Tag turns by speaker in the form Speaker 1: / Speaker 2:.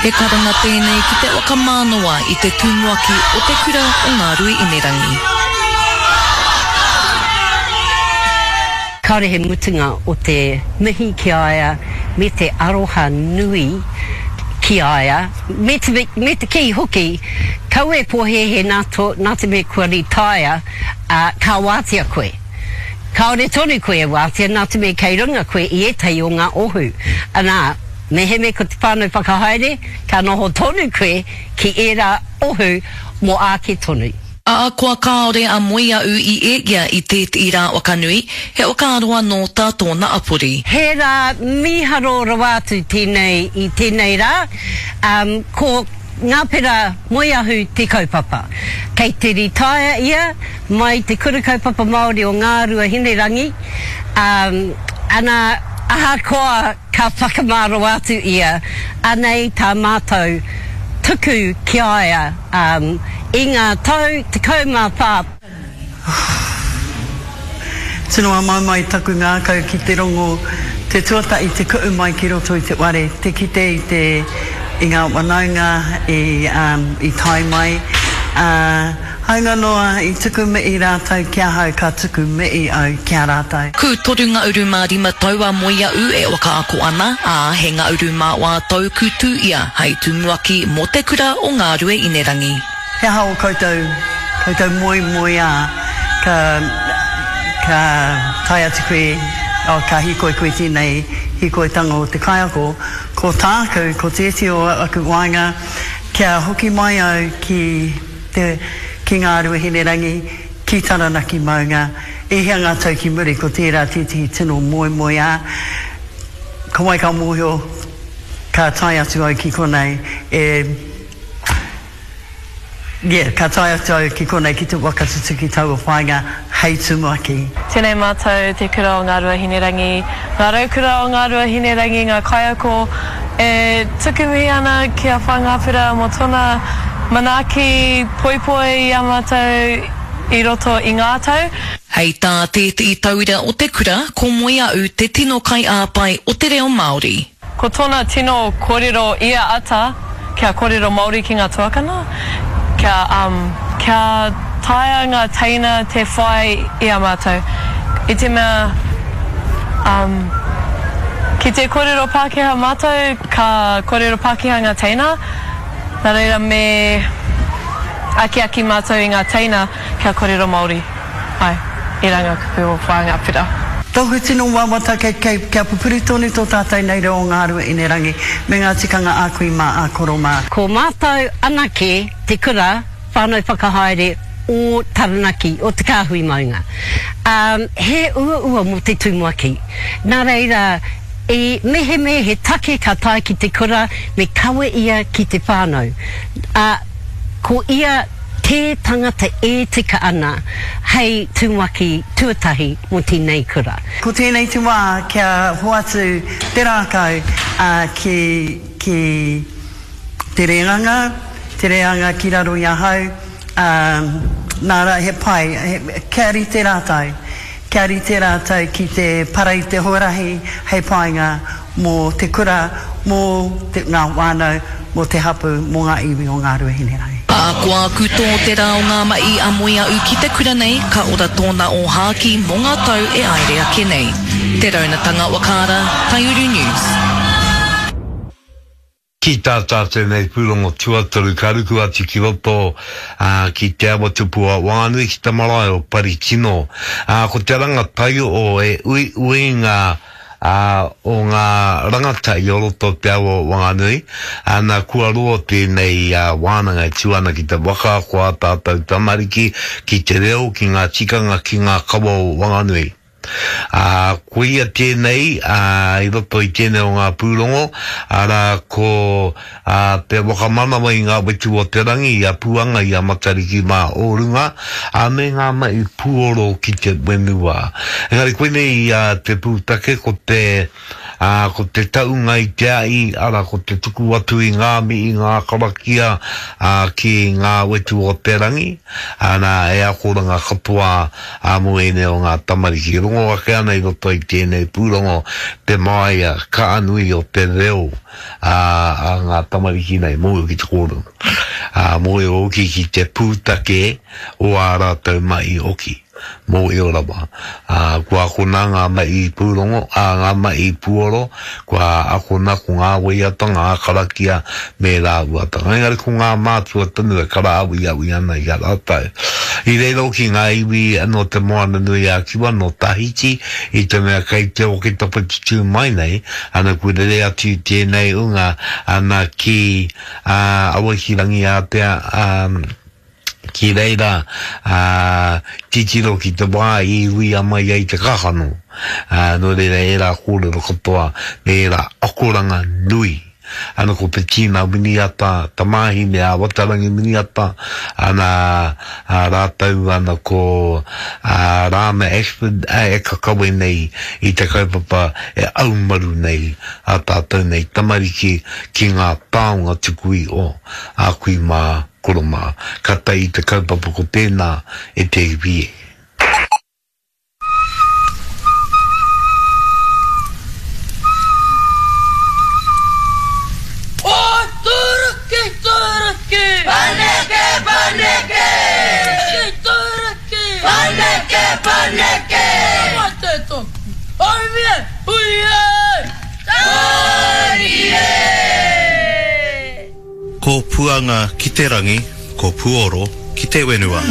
Speaker 1: He karanga tēnei ki te whakamānawa i te tumuaki o te kura o Ngāruiinerangi.
Speaker 2: Kāore he mutunga o te mihi ki a ia me te aroha nui ki a ia, me te, me te kī hoki, kaua e pōhēhē nā tō, nā te mea kua rītaia, ā, ka wātea koe. Kāore tonu koe e wātea nā te mea kei runga koe i ētahi o ngā ohu. Anā, mehemea ko te whānau whakahaere, ka noho tonu koe ki ērā ohu mō āke tonu.
Speaker 1: Ahakoa kāore a Moeaʻu i eia i tētehi rā whakanui, he whakaaro anō tā tōna apori.
Speaker 2: He rā mīharo rawa atu tēnei i tēnei rā, ko Ngāpera Moeahu te kaupapa. Kei te ritaia ia mai Te Kura Kaupapa Māori o Ngāruahinerangi, ana ahakoa ka whakamā rawa atu ia, anei tā mātou tuku ki a ia i ngā tau 14.
Speaker 3: Tino āmaimai taku ngākau ki te rongo te tuatahi te ku'u mai ki roto i te whare, te kite i te i ngā whanaunga i i tae mai, ā, hāunga noa i tuku mihi rātou ki ahau ka tuku mihi au ki a rātou.
Speaker 1: Ku 35 tau a Moeaʻu e whakaako ana, ā, he ngauru mā wā tau ku tū ia hei tumuaki mō te kura o Ngārueinerangi.
Speaker 3: He aha ō koutou, koutou moemoeā ka, ka tae atu koe, oh, ka hīkoi koe tēnei hīkoitanga o te kaiako, ko tāku, ko tētehi o aku waenga, kia hoki mai au ki te, ki Ngāruahinerangi, ki Taranaki maunga, e hia ngā tau ki muri, ko tērā tētehi tino moemoeā, ko wai ka mōhio, ka tae atu au ki konei, e. Yeah, ka tae atu au ki konei ki te waka tutuki taua whāinga hei tumuaki.
Speaker 4: Tēnei mātou te kura o Ngāruahinerangi, ngā raukura o Ngāruahinerangi, ngā kaiako e tuku mihi ana ki a Whāngāpera mō tōna manaaki poipoi i a mātou i roto i ngā tau.
Speaker 1: Hei tā tētehi tauira o te kura, ko Moeaʻu te tino kaiāpai o te reo Māori.
Speaker 4: Ko tona tino korero ia ata kia korero Maori ki nga tuakana, kia um kia taea nga teina te whai i a matou. I te mea um ki te korero Pakeha matou ka korero Pakeha nga teina, na reira me akiaki matou i nga teina kia korero Maori. Ae, era nga kupu o Whaangapera.
Speaker 3: Tōku tino wawata kei, kei, kia pupuri tonu tō tātou nei reo o Ngā Ruahinerangi me ngā tikanga a kui mā, a koro mā.
Speaker 2: Ko mātou anake te kura whānau whakahaere o Taranaki, o Te Kāhui Maunga. Ā, he uaua mō te tumuaki. Nā reira, i mehemea he take ka tae ki te kura, me kawe ia ki te whānau. Ā, ko ia te tangata e tika ana hei tumuaki tuatahi mō tēnei kura.
Speaker 3: Ko tēnei te wā kia hoatu te rākau ki, ki te reanga, te reanga ki raro i ahau, ā, nā rā he pai, he, kia rite rātou, kia rite rātou ki te para i te huarahi hei painga mō te kura, mō te, ngā whānau, mō te hapū, mō ngā iwi o Ngāruahinerangi.
Speaker 1: Ahakoa aku tō te rā o ngā mahi a Moeaʻu ki te kura nei, ka ora tōna ōhākī mō ngā tau e aere ake nei. Te Raunatanga Wakaara, Taiuru News.
Speaker 5: Ki tā tātou nei pūrongo tuatoru ka ruku atu ki roto ki Te Awa Tupu o Wanganui ki te marae o Parikino. Ko te rangataio e uiuinga o ngā rangatahi o roto o Te Awa o Wanganui, ana kua roa tēnei wānanga e tū ana ki te whakaako ā tātou tamariki ki te reo, ki ngā tikanga, ki ngā kawa o Wanganui. Ā, koia tēnei, ā, i roto i tēnei o ngā pūrongo, arā, ko, ā, te whakamanawa i ngā whetū o te rangi, i a Puanga, i a Matariki mā o runga, ā, me ngā mahi puoro ki te whenua. Engari koinei, ā, te pūtake, ko te, ā, ko te taunga i te ahi, arā, ko te tuku atu i ngā mihi, ngā karakia, ā, ki ngā whetū o te rangi, ā, nā, e akoranga katoa, ā, mō ēnei o ngā tamariki. rongo ake ana i roto i tēnei pūrongo te māia kaanui o te reo a, a ngā tamariki nei, mōhio ki te kōrero, ā, mōhio hoki ki te pūtake o ā rātou mahi hoki. Mōhio rawa. Ā, kua akona ngā mahi pūrongo, ā, ngā mahi puoro, kua akona ko ngā waiata, ngā karakia, me ērā āhuatanga. Engari ko ngā mātua tonu e karaawiawi ana i a rātou. I reira hoki ngā iwi nō Te Moananui-a-Kiwa, nō Tahiti, i te mea kei te Oketopa te tū mai nei, ana kua rere atu tēnei unga, ana ki, ā, Awakirangiātea, ā, Ki reira, ā, titiro ki te wā i uia mai ai te kakano. Ā, nō reira ērā kōrero katoa me ērā akoranga nui. Ana ko Petina Winiata, tamāhine a Watarangi Winiata, ana, ā, rātou ana ko, ā, Rāna Ashford, ā, e kakawe nei i te kaupapa e aumaru nei ā tātou nei tamariki ki ngā taonga tuku iho a kui mā. Koro mā, ka tae i te kaupapa ko tēnā e te iwi e.
Speaker 6: O Turuki, Turuki! Paneke, paneke! Turuki, Turuki! Paneke, paneke! Mate toku, haumie, hui e! Tāri e!
Speaker 7: Ko Puanga ki te rangi, ko Puoro ki te wenua.